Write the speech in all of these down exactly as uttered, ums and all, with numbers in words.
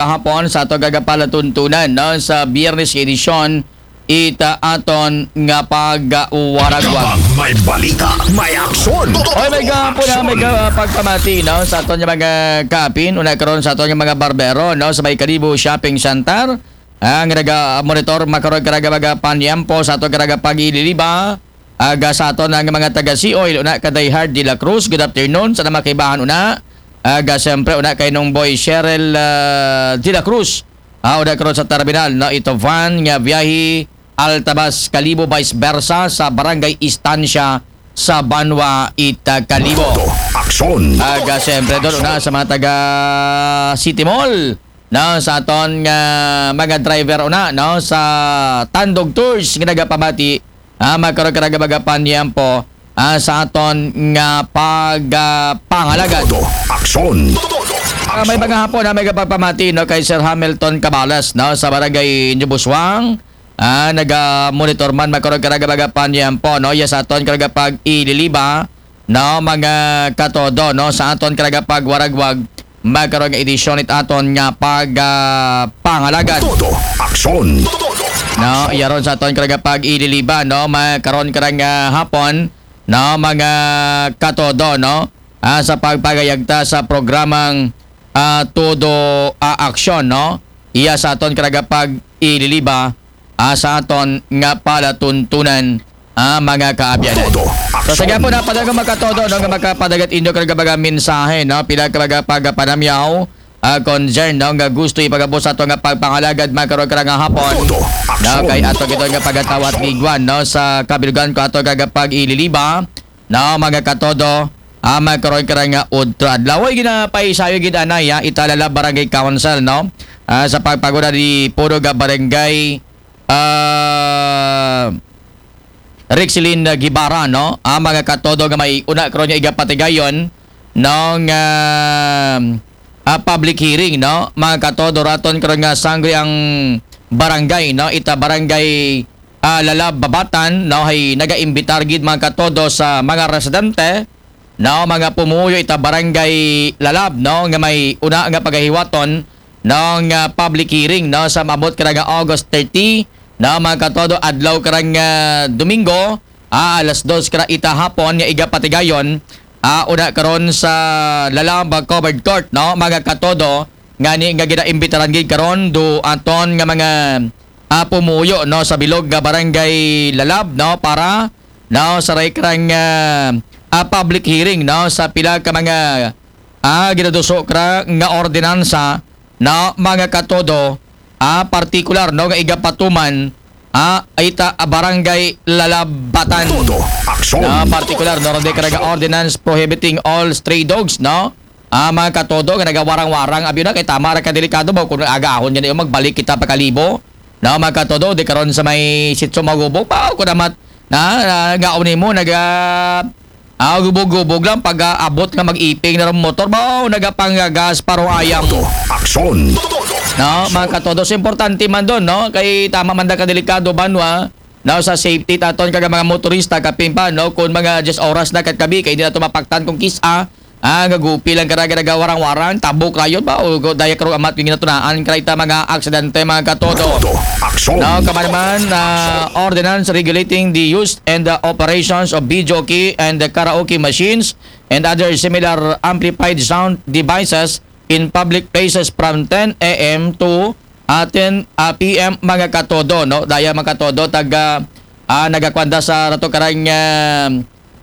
kahapon sa aton karaga palatuntunan, no, sa Biyernes nga edisyon ita aton nga pagwaragwag. Kapag may balita, may aksyon. Oy, may gahapon na, may ka- pagpamati, no, sa aton nga mga kaapin, una karon sa aton nga mga barbero, no, sa may Kalibo Shopping Center. Ang naga-monitor makaron karaga mga panyempo sa aton karaga pag-ililiba. Aga sa aton ang mga taga Sioil, una ka Diehard de la Cruz, good afternoon, sa namakaibahan una. Aga siyempre una kay nung boy Cheryl ah, de la Cruz. Ah, una karon sa terminal, no, ito van nga biyahe Altabas Kalibo, vice versa sa Barangay Estancia sa Banwa ita Kalibo. Aksyon. Aga siyempre doon una sa mga taga City Mall, no, sa aton nga mga driver una, no, sa Tandog Tours nga nagapamati, ah, makaron karaga mga panyempo, ah, sa aton nga pagpangalagad. Aksyon. Ah, may mga hapon na may pagpamati, no, kay Sir Hamilton Cabales, no, sa barangay Inyo Buswang. Ah, naga-monitor man makaron karaga mga panyempo, no, iya sa aton karaga pag-ililiba, no, mga katodo, no, sa aton karaga pagwaragwag makaron nga edisyon it aton nga pag ah, pangalagad. Todo. Aksyon. No, iya ron sa aton karaga pag-ililiba, no, makaron karang ah, hapon, no, mga katodo, no, ah, sa pagpagayagta sa programang ah, todo ah, aksyon, no, iya sa aton karaga pag-ililiba, ah, sa aton nga palatuntunan, ah, mga kaabyanan. Todo. So sa gihapon na padayon makatodo, no, nga makapadagat inyo karaga mga mensahe, no, pila ka mga pagapanamyaw, ah, concern, no, nga gusto ipagabot sa ato nga pagpangalagad makaron karang nga hapon. Todo. No, kay ato gito nga pagatawat liguan, no, sa kabilgan ko ato karaga pag-ililiba, no, mga katodo, ah, makaron karang nga udto adlaw. Oy, ginapaisayo gid anay, ah, ita Lalab Barangay Council, no, ah, sa pagpaguna di puno nga barangay ah, Rexilin Guevara, no? Ang mga katodo nga may una karon nga igapatigayon, no, nga ah, public hearing, no? Mga katodo, raton karon nga sangre ang barangay, no? Ita barangay ah, Lalab Babatan, no? Hay naga-imbitar gid mga katodo sa mga residente, no, mga pumuyo ita barangay Lalab, no, nga may una nga pagahiwaton, no, nga public hearing, no, sa maabot karang nga August thirty, no, mga katodo, adlaw karang nga Domingo, ah, alas dos kara ita hapon nga igapatigayon, ah, una karon sa Lalab Covered Court, no, mga katodo, ngani nga ginaimbitaran gid karon do aton nga mga ah, pumuyo, no, sa bilog nga barangay Lalab, no, para, no, sa ray karang ah, ah, public hearing, no, sa pila ka mga ah, ginaduso kara nga ordinansa, no, mga katodo, ah, partikular, no, nga igapatuman, ah, ita ah, barangay Lalabatan. Todo. Aksyon. Ah, partikular, no, ray karang ordinance prohibiting all stray dogs, no? Ah, mga katodo, nga nagawarang-warang, abi na, kay tama ra ka delikado ba kung agahon niya magbalik kita pa Kalibo. No, mga katodo, di karon sa may sitso magubog, ba, kung namat, na, na, gaon mo, naga, ah, gubog-gubog lang, pag ah, abot nga mag-iping na rin motor, ba, oh, nagapanggagas, parong ayang. Todo. Aksyon. No, mga katodo, so importante man doon, no? Kay tama man da ka delikado, banwa, no, sa safety taton kaga mga motorista, kapin pa, no? Kung mga diyes oras na katkabi, kay hindi na to mapaktan kung kisa, ah, nga gupi lang karaga nagawarang-warang, tabok rayon ba? O go- daya karong amat yung ginatunaan, kay ta mga aksidente, mga katodo. Todo. Aksyon. No, kamanaman, ah, ordinance regulating the use and the operations of videoke and the karaoke machines and other similar amplified sound devices in public places from ten a m to ah, ten ah, p m, mga katodo, no? Daya, mga katodo, taga ah, nagakwanda sa rato karang ah,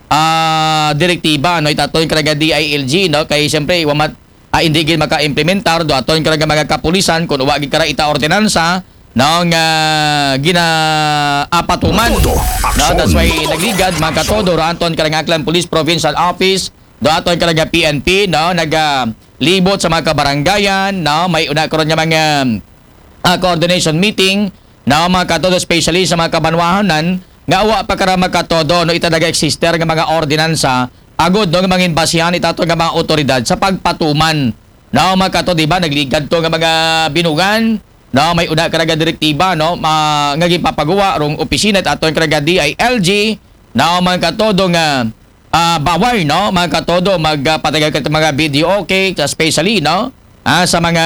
ah, direktiba, no? Itaton karaga D I L G, no? Kay siyempre, wamat ah, hindi gid maka-implementar do aton karaga mga kapulisan kung wa gid kara ita ordinansa, no, nga ginaapatuman. Todo. No, that's Aksyon. why nagligad, mga katodo, ra aton karaga Aklan Police Provincial Office, do aton karaga P N P, no, nagalibot sa mga kabarangayan, no, may una karon nga mga ah, coordination meeting, no, mga katodo, especially sa mga kabanwahanan nga wa pa kara makatodo, no, ita naga-exister nga mga ordinansa, agud, no, nga mangin basihan itato nga mga otoridad sa pagpatuman, no, mga katodo, di ba, nagligad to nga mga binugan, no, may una karaga direktiba, no, ma, nga gipapaguwa rong opisina itato karaga D I L G, no, mga katodo, nga ah, bawal, no, mga katodo, magpatagay ka mga video, okay, especially, no, ah, sa mga